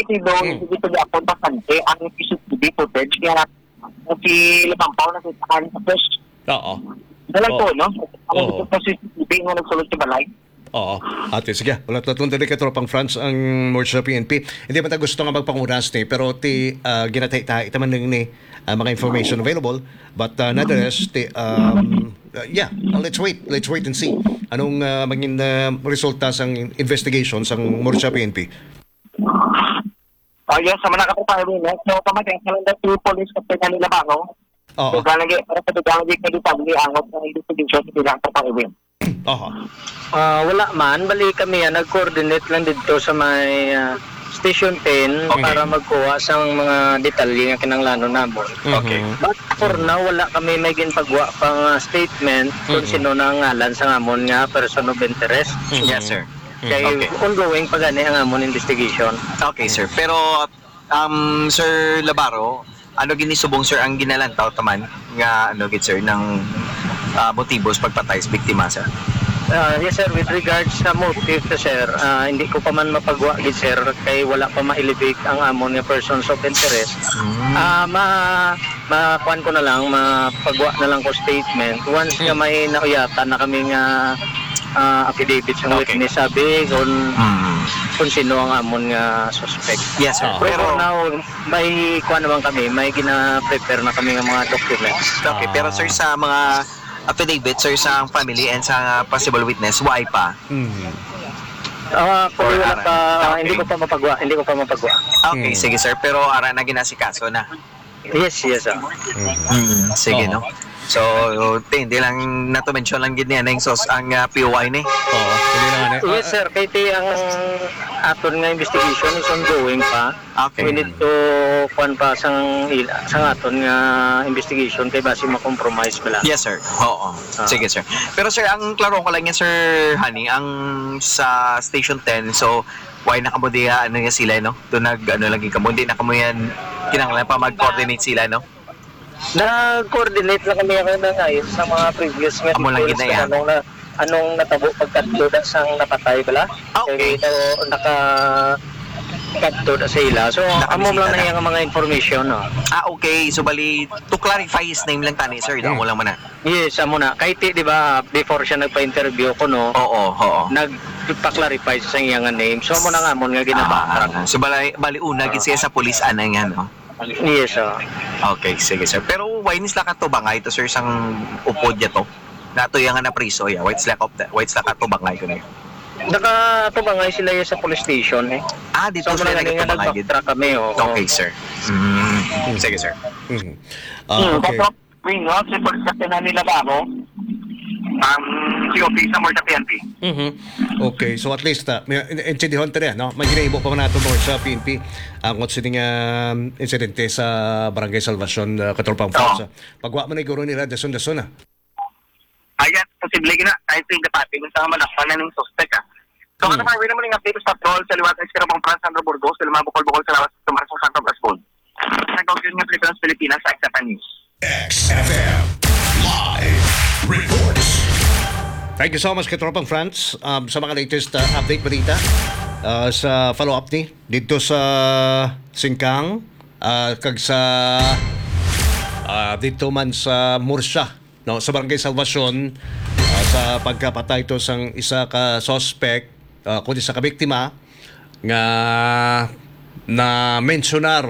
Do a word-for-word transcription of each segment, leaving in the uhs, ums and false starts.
Pero Hmm. hindi pa gyapon bastante ang C C T V footage nga si Labampaw nakita sa post. Oo. Dala Oo. to, no? Ang Oo. gusto ko si C C T V nga nagsulod sa balay. Oo. Ate, sige. Wala to tong dali ka, Tropang Franz, ang Murcia P N P. Hindi man ta gusto nga magpanguras ni, pero ti, ah, ginatahi-tahi ta man ni, ah, mga information available. But, ah, nonetheless, ti, um, uh, yeah, let's wait. Let's wait and see. Anong, ah, maging, ah, resulta sang investigation sang Murcia P N P? Oh, yes, sa mga kapatid, no? So, pamating sa lang si Police Captain Manila Baro. Oo. So, galagi, para sa dugang lagi kay detalye ang mga investigation sa ilang kapatid. Oho. Ah, wala man, bali kami, ah, nag-coordinate lang dito sa may, ah, Station ten Okay. para magkuha sa mga detalye nga kinahanglanon namon. Okay. Mhm. But for now, wala kami may ginpagwa pa nga statement kung Mhm. sino na ang ngalan sa amon nga person of interest. Mhm. Yes, sir. Mhm. Kay Okay. ongoing pa gani ang amon investigation. Okay, sir. Pero, um, Sir Labaro, ano gini subong, sir, ang ginalantaw taman nga, ano gid, sir, ng, ah, motibo sa pagpatay sa biktima, sir? Ah, yes, sir. With regards sa motive, sir, ah, hindi ko pa man mapagwa gid, sir, kay wala pa ma-elevate ang amon nga persons of interest. Mm. Ah, ma-, makuan ko na lang, mapagwa na lang ko statement once nga Mm. may nauyatan na kami nga, ah, affidavit sa Okay. witness, sabi kung, Mm. kung sino ang amon nga suspect. Yes, sir. Ah. Pero Pero for now, may kuan naman kami, may gina-prepare na kami nga mga documents. Okay, pero, sir, Ah. sa mga affidavit, sir, sa family and sa possible witness, why pa? Mm. Ah, Or wala ara pa, na? Okay. hindi ko pa mapagwa, hindi ko pa mapagwa. Okay, Mm. sige, sir. Pero ara na ginasikaso na. Yes, yes, ah. Mm. Mm, sige, Oo. no? So, ti, hindi lang nato mention lang gid niya na yung sos, ang, ah, P O I ni. Oo, hindi lang, ano, Yes, ah, sir. Kay ti ang aton nga investigation is ongoing pa. Okay. We need to, kuwan pa, sang ila, sang aton nga investigation kay basi ma-compromise bala. Yes, sir. Oo. Ah. Sige, sir. Pero, sir, ang klaro ko lang yan, Sir Honey, ang sa Station ten, so, why na kamo diha, ano nga sila, no? Doon nag, ano, lagi kamo, hindi na kamo yan, kinahanglan pa mag-coordinate sila, no? Nag-coordinate lang kami ako na ngayon sa mga previous nga Amo lang details gid na kung yan. anong na, anong natabo pagkadto na sang napatay bala. Ah, okay. Kay ito, naka-, kadto na sa ila. So, amo Nakabisita lang na na. Yung mga information, no? Ah, okay. So, bali, to clarify his name lang tani, sir. Hmm. Amo lang man na. Yes, amo na. Kay ti, di ba, before siya nagpa-interview ko, no? Oo, oo. Nagpa-clarify sa iya nga name. So, amo na nga, amo nga ginabacktrack. Ah, so, bali, bali una, gid siya sa police, ana nga, no? Yes, sir. Okay, sige, sir. Pero why ni sila katubangay to, sir, sang upod niya to? Nato iya nga napriso, ya. Why sila kop-, why sila katubangay ko niya? Nakatubangay sila ya sa police station, eh. Ah, dito So, sila mga ganyan, nagtubangay dito? Nag-backtrack kami, oo. Okay, sir. Mm. Sige, sir. Mm. Ah, Hmm, okay. Kaso, Wing, no? Si Police Captain Nani Labaro, ang C O P sa Morta P N P. Mhm. Okay, so at least, ah, may in-, intindihon ta rin, no? May ginaibo pa man nato mo sa P N P ang kung sini nga, um, insidente sa Barangay Salvacion, ah, Katropang Oo. Franz. Pagwa man na guro nila, dason-dason na. Ayan, posible gina. I think the party, minsan nga manakpan na ng suspect, ah. So, Hmm. ano pa, naman yung update sa patrol sa liwat ng Sierra Pamplona, Sandra Burgos, sa mga bukol-bukol sa lawas, tumara sa Santa Cruz Board. Nagaw yun nga Pilipinas, Pilipinas, sa X F M News. X F M Live Reports. Thank you so much, Katropang Franz, um, sa mga latest, uh, update balita, uh, sa follow-up ni dito sa Singkang, uh, kag sa, uh, dito man sa Murcia, no, sa Barangay Salvacion, uh, sa pagkapatay to sang isa ka suspect, uh, kundi sa kabiktima nga na-mensionar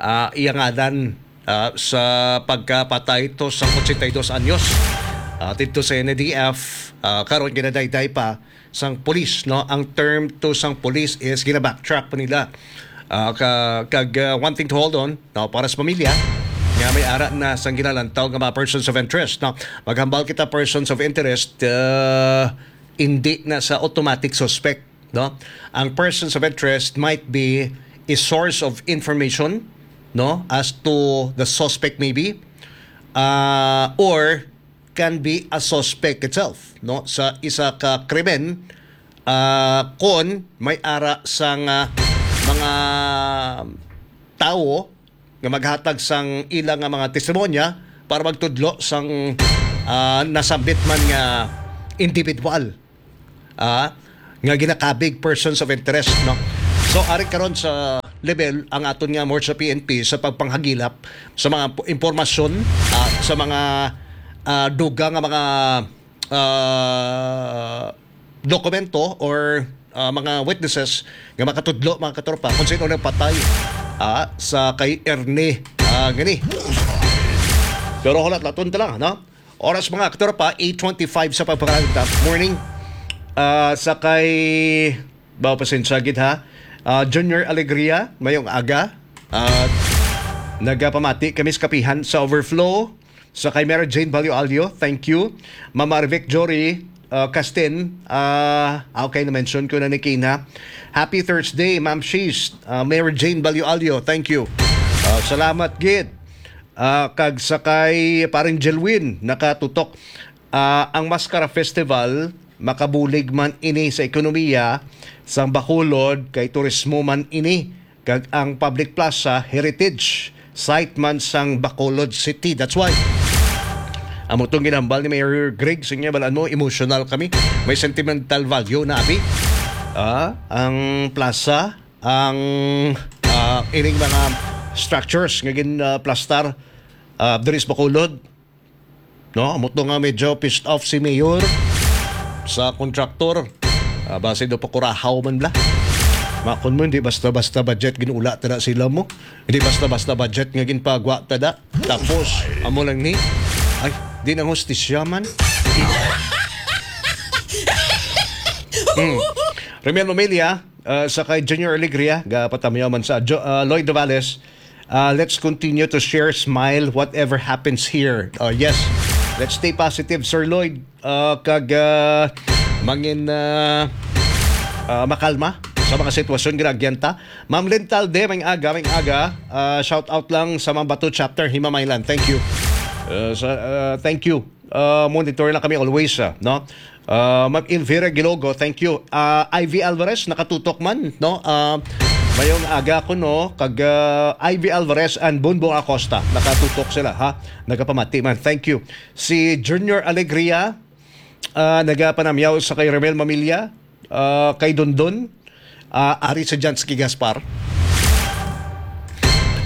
ah, iya ngalan, ah, sa pagkapatay to sang ochenta y dos anyos. Ah, didto sa N A D F, ah, karon ginadayday pa sang pulis, no? Ang term to sang pulis is gina-backtrack pa nila. Ah, ka-, kag, ah, one thing to hold on, no, para sa pamilya, nga may ara na sang ginalantaw nga mga persons of interest, no? Maghambal kita persons of interest, ah, hindi na sa automatic suspect, no? Ang persons of interest might be a source of information, no, as to the suspect maybe, uh, or can be a suspect itself, no, sa isa ka krimen, uh, kon may ara sang, uh, mga tawo nga maghatag sang ila nga mga testimonya para magtudlo sang, ah, nasambit man nga individual, ah, nga ginakabig persons of interest, no? So, ari karon sa level ang aton nga Morsa P N P sa pagpanghagilap sa mga po- impormasyon, ah, sa mga, ah, dugang nga mga, ah, dokumento or, ah, mga witnesses nga makatudlo, mga katropa, kung sino nagpatay, ah, sa kay Ernie, ah, gani. Pero hulat-laton ta lang, no? Oras, mga katropa, eight twenty-five sa pagpakalagot. Morning. Ah, sa kay, ba, pasensya gid, ha? Ah, Junior Alegria, mayong aga. At nagapamati kami sa kapihan sa Overflow. Sa kay Mary Jane Balyo Alyo, thank you. Mama Revic Jory, ah, Castin, ah, ah, okay, na-mention ko na ni Kina. Happy Thursday, Ma'am Shish. Ah, Mary Jane Balyo Alyo, thank you. Ah, salamat gid. Ah, kag sa kay Paring Jelwin, nakatutok. Ah, ang Mascara Festival makabulig man ini sa ekonomiya sang Bacolod, kay turismo man ini, kag ang public plaza heritage site man sang Bacolod City. That's why amo tong ginhambal ni Mayor Greg. Sige, balaan mo, emotional kami. May sentimental value na, abi. Ah, ang plaza, ang, ah, ining mga structures nga gin, ah, plastar, ah, diri sa Bacolod. No, amo to nga medyo pissed off si Mayor sa kontraktor. Ah, basi daw pakurahaw man bla. Makon mo, hindi basta-basta budget ginula tada sila mo. Hindi basta-basta budget nga ginpagwa tada. Tapos, amo lang ni, ay, di nang hustisya man. Hmm. Remiel Mamilya, ah, sa kay Junior Alegria, gapatamyaw man sa Jo- ah, Lloyd Novales, ah, let's continue to share, smile, whatever happens here. Oh, yes. Let's stay positive, Sir Lloyd. Ah, kag, ah, mangin, ah, ah, makalma sa mga sitwasyon nga naagyanta. Ma'am Lynn Talde, may aga, may aga. Ah, shout out lang sa Mambato Chapter, Himamaylan. Thank you. Ah, sa, ah, thank you. Ah, monitor lang kami always, ah, no? Ah, Ma'am Elvira Gilogo, thank you. Ah, Ivy Alvarez, nakatutok man, no? Ah, mayong aga ko, no? Kag, ah, Ivy Alvarez and Bunbong Acosta, nakatutok sila, ha? Nagapamati man. Thank you. Si Junior Alegria, ah, nagapanamyaw sa kay Remel Mamilya, ah, kay Dondon, ah, ari sa Jansky Gaspar.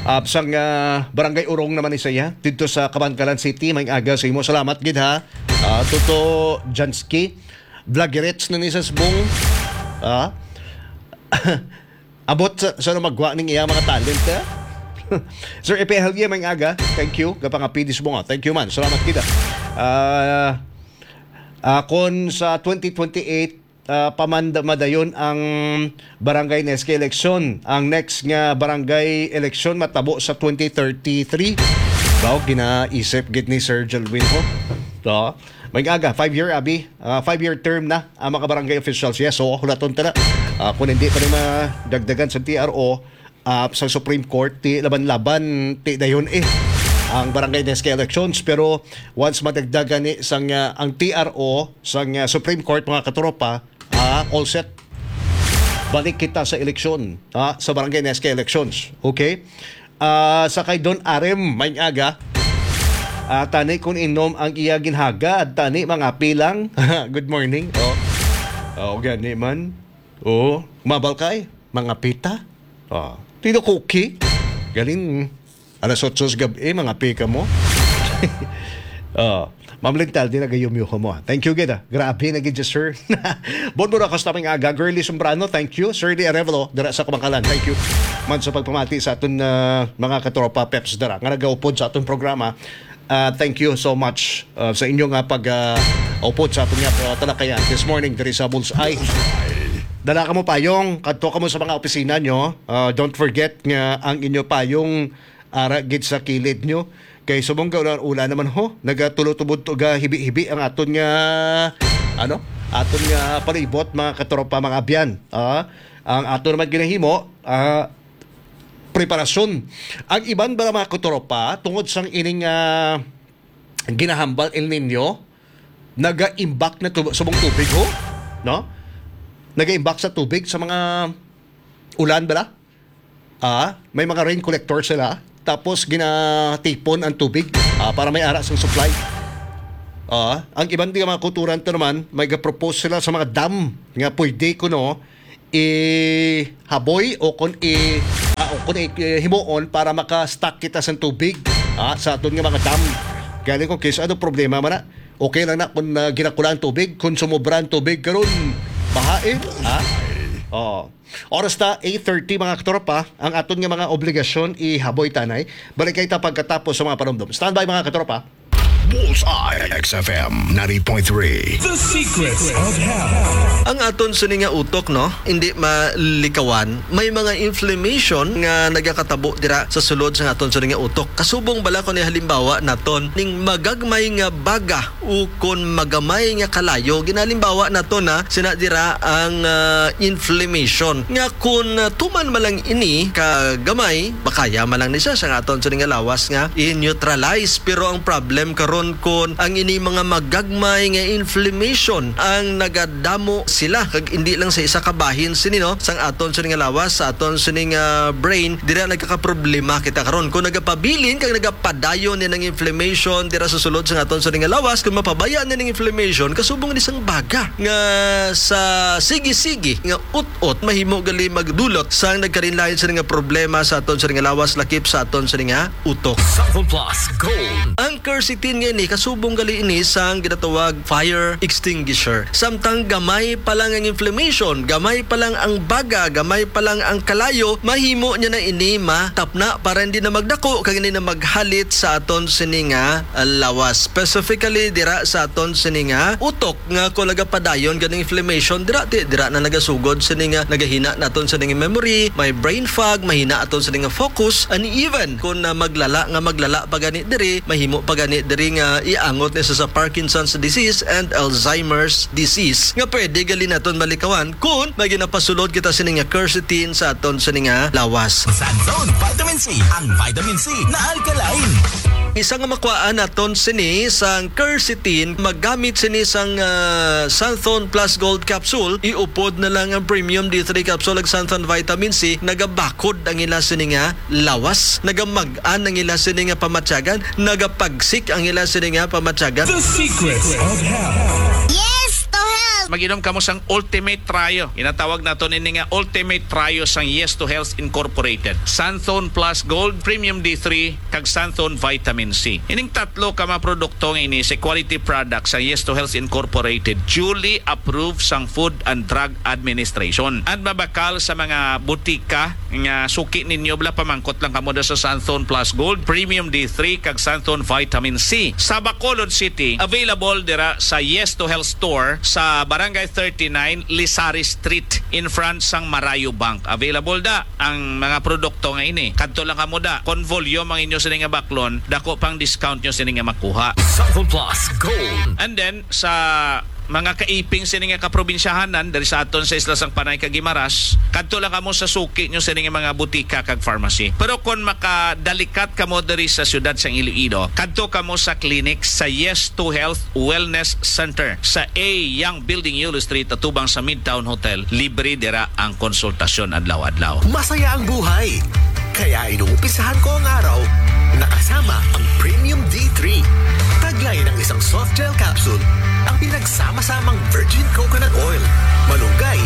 Ah, sang, ah, Barangay Urong naman ni siya, dito sa Kabankalan City, may aga sa imo. Salamat gid, ha. Ah, Toto Jansky, vloggerets na ni sa Sbong. Ah. Abot sa, sa magwa ning iya mga talent, ha? Sir Epe Helye, may aga. Thank you. Kapangapidis mo nga. Thank you, man. Salamat kita. Ah, ah, kung sa twenty twenty-eight, ah, pamanda madayon ang barangay N S K election. Ang next nga barangay election matabo sa twenty thirty-three. Daw ginaisip gid ni Sir Jelwin ho. To. May aga, five-year, abi. Ah, five-year term na ang mga barangay officials. Yes, so hulaton ta na. Ah, kung hindi pa rin madagdagan sa T R O, ah, sa Supreme Court, ti laban-laban, ti dayon eh ang barangay N S K elections. Pero once madagdagan ni sang, ah, ang T R O sang, ah, Supreme Court, mga katropa, ah, all set. Balik kita sa eleksyon, ah, sa barangay N S K elections. Okay? Ah, sa kay Don Arem, may aga. Ah, tani kung inom ang iya ginhagad, tani mga pilang. Good morning. Oh. Oh, gani man. Oh, mabal kay mga pita. Oh, tino cookie. Galing. Alas otso sa gabi, mga pika mo. Oh, Ma'am Lintal, di nagayumyo mo. Thank you gid, ah. Grabe na gid, sir. Bon mo na, Costa, may aga. Girly Sombrano, thank you. Sir Lee Arevalo, dira sa Kabankalan, thank you. Man sa pagpamati sa aton, ah, mga katropa peps dira nga nagaupod sa aton programa. Ah, thank you so much, ah, sa inyo nga pag, ah, upod sa aton nga, ah, talakayan this morning diri sa Bullseye. Dala ka mo payong, kadto ka mo sa mga opisina nyo. Ah, don't forget nga ang inyo payong ara gid sa kilid nyo. Kay subong ka ulan, ulan naman ho, nagatulutubod to ga hibi-hibi ang aton nga, ano, aton nga palibot, mga katropa, mga abyan. Ah, ang aton naman ginahimo, ah, preparasyon. Ang iban ba, mga katropa, tungod sang ining, ah, ginahambal El Nino, nagaimbak na tu- subong tubig ho, no? Nagaimbak sa tubig sa mga ulan bala. Ah, may mga rain collector sila. Tapos ginatipon ang tubig, ah, para may ara sang supply. Ah, ang iban di mga kulturan to naman, may ga-propose sila sa mga dam nga pwede kuno ihaboy o kon i ah, Kung i-, eh, himuon para maka-stock kita sa tubig, ha, sa aton nga mga dam. Galing ko, Chris, ano problema man na? Okay lang na kung, ah, ginakula ang tubig, kung sumobra ang tubig, karon, bahain, ha? Oo. Oras na, eight thirty, mga katropa, ang aton nga mga obligasyon, ihaboy tanay. Balik kita pagkatapos sa mga panumdom. Standby, mga katropa. Bullseye, X F M ninety point three. The Secrets of Health. Ang aton sini nga utok, no, hindi malikawan. May mga inflammation nga nagakatabo dira sa sulod sa aton sini nga utok. Kasubong bala ko ni halimbawa naton ning magagmay nga baga ukon magamay nga kalayo. Ginalimbawa naton na sina dira ang, ah, inflammation. Nga kun, ah, tuman man lang ini ka gamay, makaya man lang ni siya sa aton sini nga lawas nga i-neutralize. Pero ang problem karon, kun ang ini mga magagmay nga inflammation ang nagadamo sila, kag hindi lang sa isa ka bahin sini, no, sang aton sini nga lawas, sa aton sini nga brain, dira nagkakaproblema kita karon. Kung nagapabilin kag nagapadayon ni ang inflammation dira sa sulod sa aton sini nga lawas, kung mapabaya ni ang inflammation, kasubong ni sang baga nga sa sige-sige nga ut-ot mahimo gali magdulot sang nagkalain-lain sini nga problema sa aton sini nga lawas, lakip sa aton sini nga utok. Santhon Plus Gold. Ang quercetin nga ini, kasubong gali ini sang ginatawag fire extinguisher. Samtang gamay pa lang ang inflammation, gamay pa lang ang baga, gamay pa lang ang kalayo, mahimo niya na ini matapna para hindi na magdako kag hindi na maghalit sa aton sini nga, ah, lawas. Specifically dira sa aton sini nga utok, nga kung nagapadayon ganing inflammation, dira ti, dira na nagasugod sini nga nagahina naton sini nga memory, may brain fog, mahina aton sini nga focus, and even kung na maglala nga maglala pa gani diri, mahimo pa gani diri nga iangot ni sa, sa Parkinson's disease and Alzheimer's disease, nga pwede gali naton malikawan kung may ginapasulod kita sini nga quercetin sa aton sini nga lawas. Santhon Vitamin C, ang vitamin C na alkaline. Isa nga makuhaan naton sini sang quercetin, magamit sini sang, ah, Santhon Plus Gold Capsule, iupod na lang ang Premium D three Capsule ag Santhon Vitamin C, nagabakod ang ila sini nga lawas, nagamag-an ang ila sini nga pamatyagan, nagapagsik ang ila sini nga pamatyagan. The Secrets of Health. Yes to health! Mag-inom kamo sang Ultimate Trio. Ginatawag naton ini nga Ultimate Trio sang Yes to Health Incorporated. Santhon Plus Gold, Premium D three, kag Santhon Vitamin C. Ining tatlo ka mga produkto nga ini sa quality products sang Yes to Health Incorporated, duly approved sang Food and Drug Administration. And mabakal sa mga butika nga suki ninyo, bala, pamangkot lang kamo da sa Santhon Plus Gold, Premium D three, kag Santhon Vitamin C. Sa Bacolod City, available dira sa Yes to Health Store sa Barangay thirty-nine, Lizares Street, in front sang Marayo Bank. Available da ang mga produkto nga ini. Kadto lang kamo da. Kon volume ang inyo sini nga baklon, dako pang discount nyo sini nga makuha. Santhon Plus Gold. And then, sa mga kaiping sini nga kaprobinsyahanan diri sa aton sa Isla sang Panay kag Guimaras, kadto lang kamo sa suki nyo sini nga mga butika kag pharmacy. Pero kon makadalikat kamo diri sa siyudad sang Iloilo, kadto kamo sa clinic sa Yes to Health Wellness Center sa A Young Building, Yulo Street, atubang sa Midtown Hotel. Libre dira ang konsultasyon adlaw-adlaw. Masaya ang buhay. Kaya inumpisahan ko ang araw na kasama ang Premium D three. Taglay ng isang soft gel capsule ang pinagsama-samang virgin coconut oil, malunggay,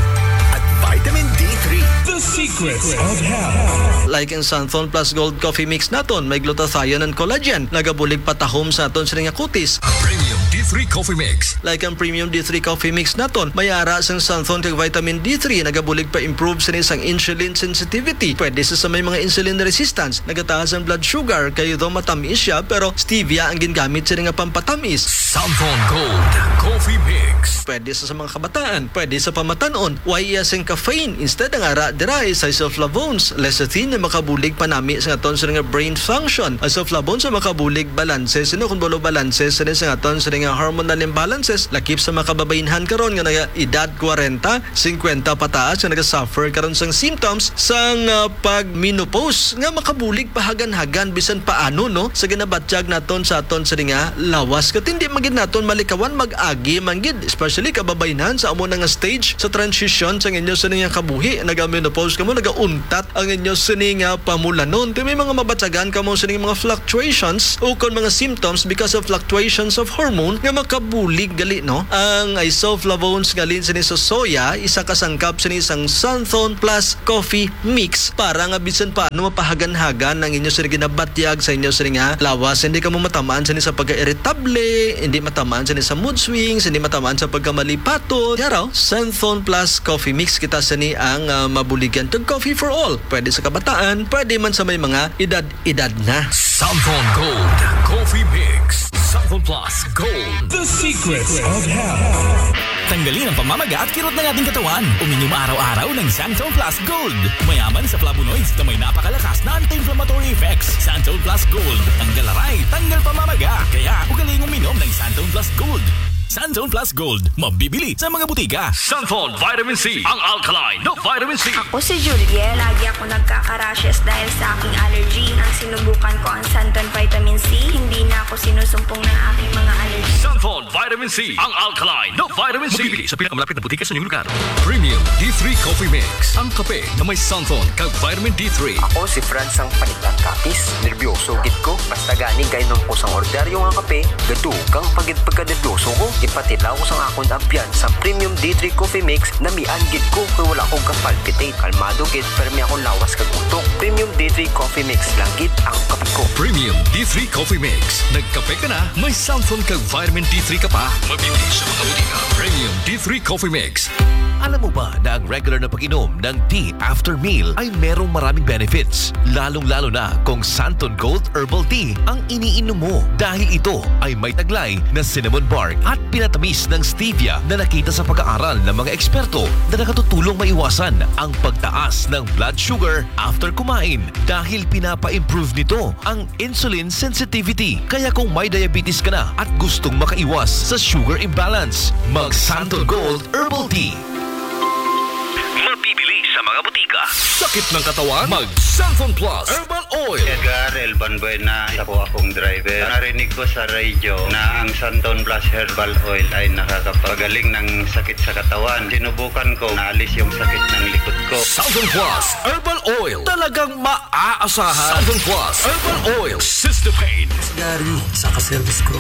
at vitamin D three. The Secrets of Health. Like ang Santhon Plus Gold Coffee Mix naton, may glutathione and collagen, nagabulig patahom sa aton sini nga kutis. Premium D three Coffee Mix. Like ang Premium D three Coffee Mix naton, may ara sang Santhon kag vitamin D three, nagabulig pa-improve sini sang insulin sensitivity. Pwede sa, sa may mga insulin resistance, nagataas ang blood sugar, kay though matamis siya, pero stevia ang gingamit sini nga pampatamis. Santhon Gold Coffee Mix. Pwede sa, sa mga kabataan, pwede sa pamatan-on, way iya sing caffeine. Instead, ang ara dira is isoflavones, lecithin, nga makabulig panami sa aton sini nga brain function. Isoflavones nga makabulig balanse, sino kung balo balanse, sini sa aton sini nga hormonal imbalances, lakip sa mga kababainhan karon nga naga edad kwarenta, singkwenta pataas nga nagasuffer karon sang symptoms sang, ah, pag-menopause nga makabulig pahagan-hagan bisan paano, no, sa ginabatyag naton sa aton sini nga lawas. Katindi man gid naton malikawan, mag-agi man gid, especially Dili ka babaynan sa amo na nga stage sa transition sa inyo sini nga kabuhi. Naga-menopause kamo, nagauntat ang inyo sini nga pamulanon. Ti may mga mabatyagan kamo sini nga mga fluctuations ukon mga symptoms because of fluctuations of hormone nga makabulig gali, no? Ang isoflavones nga halin sini sa soya, isa ka sangkap sini sang Santhon Plus Coffee Mix para nga bisan pa ano mapahagan-hagan ang inyo sini ginabatyag sa inyo sini nga lawas. Hindi kamo matamaan sini sa pagka-irritable, hindi matamaan sini sa mood swings, hindi matamaan sa pagkamalipaton. Yaraw, Santhon Plus Coffee Mix kita sini ang ah, mabuligan kag coffee for all. Pwede sa kabataan, pwede man sa may mga edad-edad na. Santhon Gold Coffee Mix. Santhon Plus Gold. The Secrets of Health. Tanggalin ang pamamaga at kirot ng ating katawan. Uminom araw-araw ng Santhon Plus Gold. Mayaman sa flavonoids na may napakalakas na anti-inflammatory effects. Santhon Plus Gold. Tanggal aray, tanggal pamamaga. Kaya ugaling uminom ng Santhon Plus Gold. Santhon Plus Gold. Mabibili sa mga butika. Santhon Vitamin C, ang alkaline na vitamin C. Ako si Juliet. Lagi ako nagkaka-rashes dahil sa aking allergy. Nang sinubukan ko ang Santon Vitamin C, hindi na ako sinusumpong ng aking mga allergy. Santhon Vitamin C, ang alkaline na vitamin C. Mabibili sa pinakamalapit na butika sa inyong lugar. Premium D three Coffee Mix, ang kape na may santhon kag vitamin D three. Ako si Franz ang panitan kapis. Nerbiyoso gid ko. Basta gani kainom ko sang ordinaryo nga kape, gadugang pa gid pagkanerbiyoso ko. Ipatilaw ko sang akon ambiyan sa Premium D three Coffee Mix, namian gid ko kay wala ko ka-palpitate. Kalmado gid, permi akong lawas kag utok. Premium D three Coffee Mix lang gid ang kape ko. Premium D three Coffee Mix. Nagkape ka na? May santhon kag vitamin D three ka pa? Mabibili sa mga butika. Premium D three Coffee Mix. Alam mo ba na ang regular na pag-inom ng tea after meal ay merong maraming benefits, lalong-lalo na kung Santon Gold Herbal Tea ang iniinom mo, dahil ito ay may taglay na cinnamon bark at pinatamis ng stevia na nakita sa pag-aaral ng mga eksperto na nakatutulong maiwasan ang pagtaas ng blood sugar after kumain, dahil pinapa-improve nito ang insulin sensitivity. Kaya kung may diabetes ka na at gustong makaiwas sa sugar imbalance, mag Santon Gold Herbal Tea. Mabibili sa mga butika. Sakit ng katawan? Mag Santon Plus Herbal Oil. Edgar Elban Buena, isa po akong driver. Narinig ko sa radyo na ang Santon Plus Herbal Oil ay nakakapagaling ng sakit sa katawan. Sinubukan ko, naalis yung sakit ng likod ko. Santon Plus Herbal Oil. Talagang maaasahan. Santon Plus Herbal Oil. Sister Pain. Gary, sa ka-service crew.